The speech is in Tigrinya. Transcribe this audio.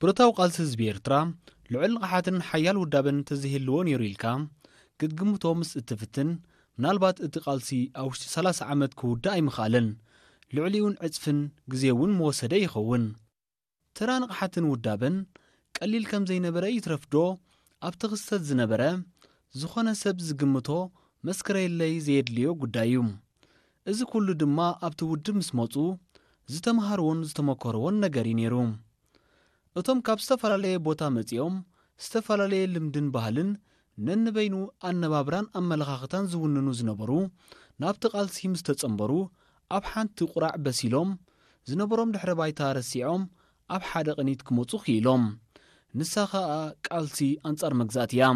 ብረታዊ ቃልሲ ህዝቢ ኤርትራ ልዑል ንቕሓትን ሓያል ውዳበን እንተዘይህልዎ ነይሩ ኢልካ ክትግምቶ ምስ እትፍትን፣ ምናልባት እቲ ቃልሲ ኣብ ውሽጢ ሰላሳ ዓመት ክውዳእ ኣይምኽኣለን። ልዕሊኡን ዕጽፍን ግዜ እውን ምወሰደ ይኸውን። ተራ ንቕሓትን ውዳበን ቀሊል ከም ዘይነበረ ይትረፍዶ ኣብቲ ክስተት ዝነበረ ዝኾነ ሰብ ዝግምቶ መስክረየለይ ዘየድልዮ ጉዳይ እዩ። እዚ ኩሉ ድማ ኣብቲ ውድብ ምስ መጹ ዝተምሃርዎን ዝተመከርዎን ነገር እዩ ነይሩ። እቶም ካብ ዝተፈላለየ ቦታ መጺኦም ዝተፈላለየ ልምድን ባህልን ነንበይኑ ኣነባብራን ኣመለኻኽታን ዝውንኑ ዝነበሩ ናብቲ ቃልሲ ምስ ተጸንበሩ ኣብ ሓንቲ ቁራዕ በሲሎም ዝነበሮም ድሕረ ባይታ ረሲዖም ኣብ ሓደ ቅኒት ክመጹ ክኢሎም። ንሳ ኸኣ ቃልሲ ኣንጻር መግዛእቲ እያ።